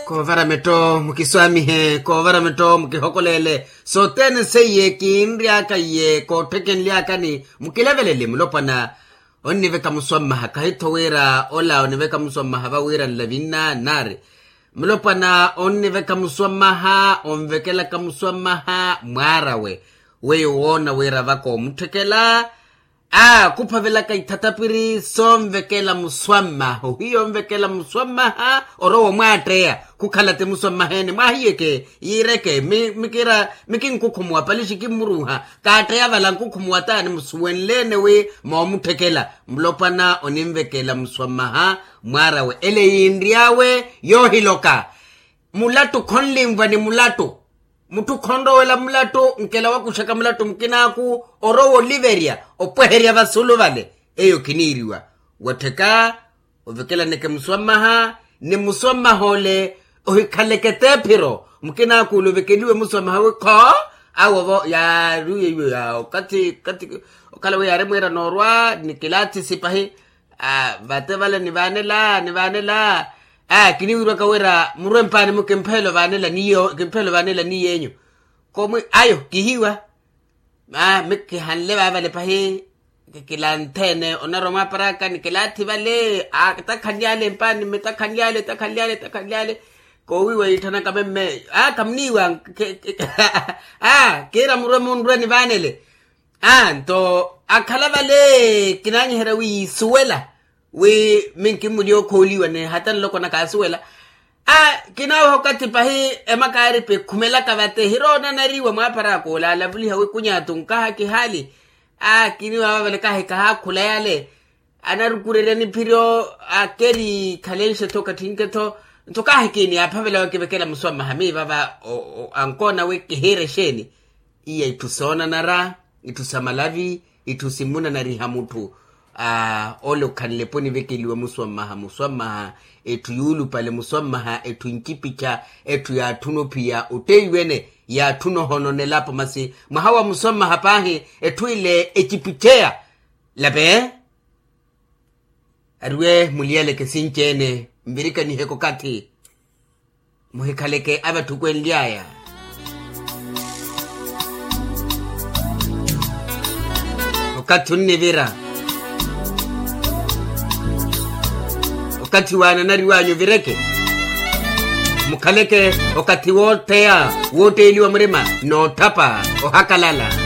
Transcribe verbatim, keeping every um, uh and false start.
Koovara metto mukiswaamihe, koovara metto mukihokoleele. Sothene seiye kinry'aka iye kootteke nly'akani. Mukilevelele mulopwana onniveka muswammaha kahi-tho wira ola oniveka muswammaha vawiira nlavinna naari, mulopwana onniveka muswammaha onvekelaka muswammaha mwaar'awe weiwo woona wira vakoomutthekela. Aa khuphavelaka ithatapiri soonvekela muswammaha ohiya onvekela muswammaha orowa omwaatteya khukhala ti muswammaha ene mwaahiyeke yiireke mi- mikinkhukhumuwa palixi kimmuruuha kaatteya vala nkhukhumuwa taani musuwenleene wi moomutthekela. Mulopwana oninvekela muswammaha mwaar'awe ele yiinry'awe yoohiloka. Mulattu khonlinvwa ni mulattu. Mutthu khonrowela mulattu nkela wakuxaka mulattu mukinaaku orowa oliverya opweherya vasulu vale. Eyo khiniiriwa wattheka ovekelaneke muswammaha ni muswammaha ole ohikhaleke teephiro. Mukinaaku ole ovekeliwe muswammaha wi kho awovo yaariwe iwe ya okathi okathi okhala wi yaari mwiira noorwa ni kilathisi pahi. Vate vale nivaanela nivaanela. Kiniwirwaka wira murwe mpaani mu kimpheelo vaanela ni yeenyu. Komwi ayo kihiwa. Mi kihanle vaavale pahi kilantheene onarwa mwaaparaka ni kilaathi vale. Takhanlyale mpaani mi takhanlyale takhanlyale takhanlyale. Koowiiwa yiitthanaka memme. Khamuniiwa. Kiira murwe munrwe nivaanele. Nto akhala vale kinaanyiherya wi yiisuwela wi minkimmulya okhooliwa ni hata nloko nakaasuwela. Kinaaweha okathi pahi emaka yaaripi ekhumelaka vate hiroonanariwa mwaaparaka olaalavuliha wi kunyatu nkaha kihaali. Kiniiwa vaavale kahi kahaakhula yale anarukurerya niphiryo. Keri khalenxe-tho kathinke-tho nto kahi kiini yaaphavela wakivekela muswammaha miivava ankoona wi kihiire exeeni. Iya itthu soonanara, itthu sa malavi, itthu simmunanariha mutthu. Ole okhanle-po onivekeliwa muswammaha muswammaha. Etthu yuulupale muswammaha etthu ncipicha. Etthu yaatthuna ophiya otteiwene yaatthuna ohonona elapo masi mwaha wa muswammaha paahi. Etthu ile ecipicheya lape. Ariwe muliyaleke sinci-ene nvirikaniheke okathi. Muhikhaleke avatthukwenly'aya. Okathi onnivira okathi waananariw'anyu ovireke. Mukhaleke okathi wootheya wootteeliwa murima nootthapa ohakalala.